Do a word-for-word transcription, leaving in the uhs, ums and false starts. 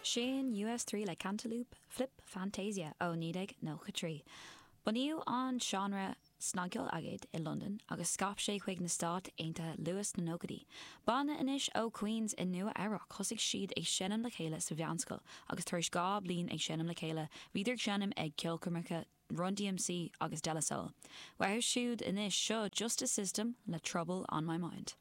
Sin U S trí le Cantaloop Flip Fantasia ó naoi déag nócha trí. Bunaíodh an seánra snagcheoil aigéid i London agus scaip sé chuig na Stáit Aontaithe luath sna nóchaidí. Banna anois ó Queens i Nua Eabhrac, thosaigh siad ag seinm le chéile sa mheánscoil agus tar éis dhá bliain ag seinm le chéile bhíodar ag seinm ag ceolchoirmeacha Run D M C agus De La Soul. Uathu siúd anois, seo Justice System le Trouble on My Mind.